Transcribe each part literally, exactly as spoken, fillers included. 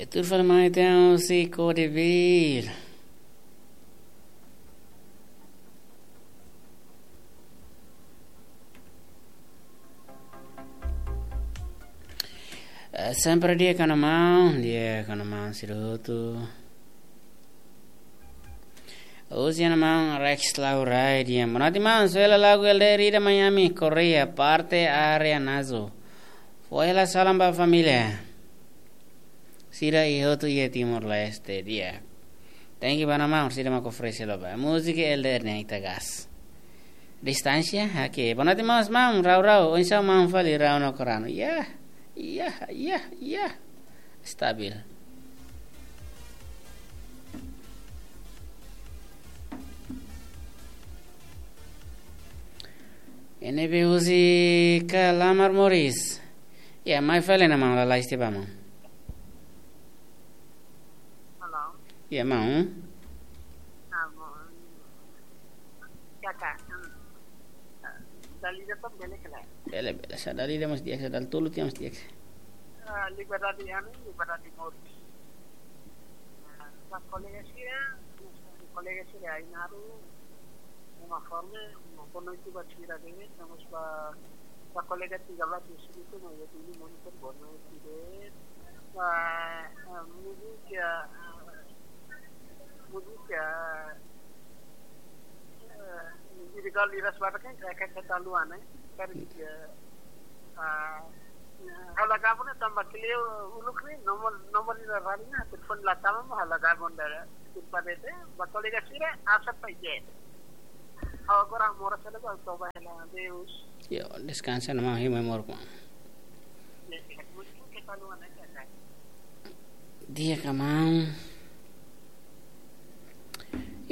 Tuir fali mai ita husi Kode Bil. Eh, sempre di'ak ona maun, di'ak ona maun sira hotu. Husi ona maun Rex Laurai, di'ak. Boa noite maun, só hela lagu L D R ida Miami, Korea, parte área Nazo. Fó hela salam ba família sira hotu iha Timor-Leste, di'ak. Thank you ba ona maun, sira mak oferese loba. Múzika L D R ne'e ita gás. Distánsia, oke. Boa noite maun, maun, rau rau, oinsá maun fali rau no korano. Ya, ya, ya, ya. Stabil. Ne'ebé husi Kalamar Moris. Ya, mai fali ona maun, lalais tiha ba maun. Halo. Ya, maun. Ah, maun. Kaka, hmm. Dala ida to'o bele ka lae? Bele, bele. Sá dala ida mós di'ak, sá dala tolu tiha mós di'ak. Ah, Liberdade Ami, Liberdade Moris. Ah, ba kolega sira, kolega sira Ainaru, uma forma, uma boa noite ba sira de'it, no mós ba, ba kolega tiga belas di sini tu, no, ya dulu monitor boa noite de'it. Ba, ah, múzika, ah, múzika, ah, di kau liras baru kan, kayak kata luan, eh. Kan, ya, ah, halo gabon tanba kleur uluk ne'e, nomor, nomor ida rali na, telepon la tama mo halo gabon dala. Tanba ne'e, ba kolega sira, asa pa ije. Agora moras hela ba, toba hela, adeus. Yo, deskansa ona maun, hima moruk maun. Ya, ya, mungkin kita luan aja, kan. Di'ak ka maun.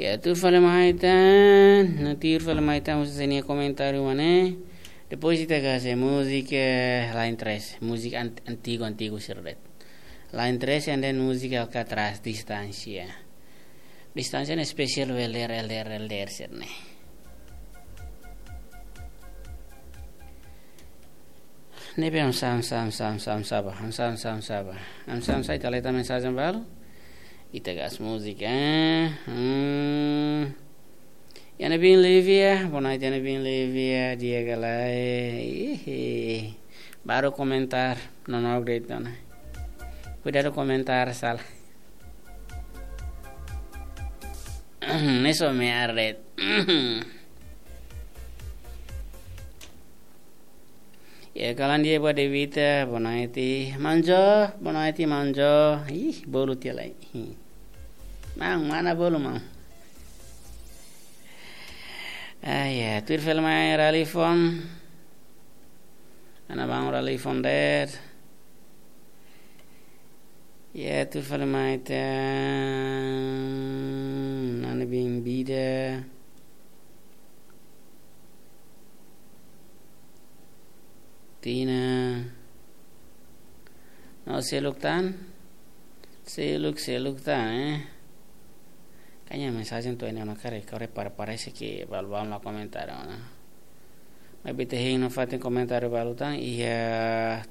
Ya, tuir fali mai ita, no tuir fali mai ita, husi sira-nia komentáriu mak ne'e. Depois ita gás múzika, eh, Line trese, múzika ant-, antigu, antigu sira de'it. Line trese and then múzika Alcatraz, Distánsia. Distánsia ne'e espesiál ba L D R, L D R, L D R sira-ne'e. Ne'ebé hamsa, hamsa, hamsa, hamsa, hamsa ba, hamsa, hamsa, hamsa ba. Hamsa, hamsa, ita leta mensajen balu. Ita gás múzika, eh. Hmm. Iha ne'ebé Lívia, boa noite, iha ne'ebé Lívia, di'ak ka lae. Ih, baru komentár, no, no, de'it ona. Kuidadu komentár sala. Ne'e só mear de'it. Ya, kalan dia buat Devita, boa noite. Manjo, boa noite, Manjo. Ih, bolu tiha lai. Ih. Maun, mana bolu, maun? Ah, ya, tuir fali mai Ralifon. Ana bang Ralifon de'it. Ya, tuir fali mai ita, nani bin bida. Tina. No seluk tan. Seluk, seluk tan, eh. Kayaknya mensajen to'o iha ne'e ona karik, karik para, parese ke balu-balu la komentáriu ona. Maibé ita hein nafatin komentáriu balu tan, iha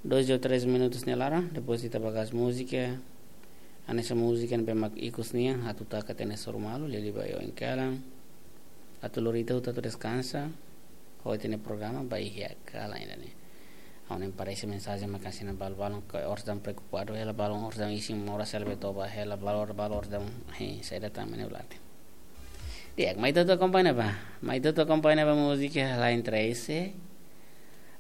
dois ou três minutos nia laran, depois ita ba gás múzika. Hanesan múzika ne'ebé mak ikus nian, atu taka tiha ona suru malu, liuliu ba oin kalan. Atu lori ita hotu atu deskansa, ho ita-nia programa ba iha kalan ida-ne'e. Ha'u hanoin parese mensajen mak hanesan balu-balu ke orsida preokupadu hela, balu orsida isin moras hela, be toba hela, balu, balu orsida, he, saida tan mene ulate. Di'ak, mai ita hotu akompaña ba. Mai ita hotu akompaña ba múzika Line trese.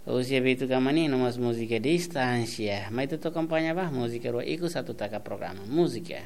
Husi Beto Kamani, no mós múzika Distánsia. Mai ita hotu akompaña ba, múzika rua ikus atu taka programa. Múzika.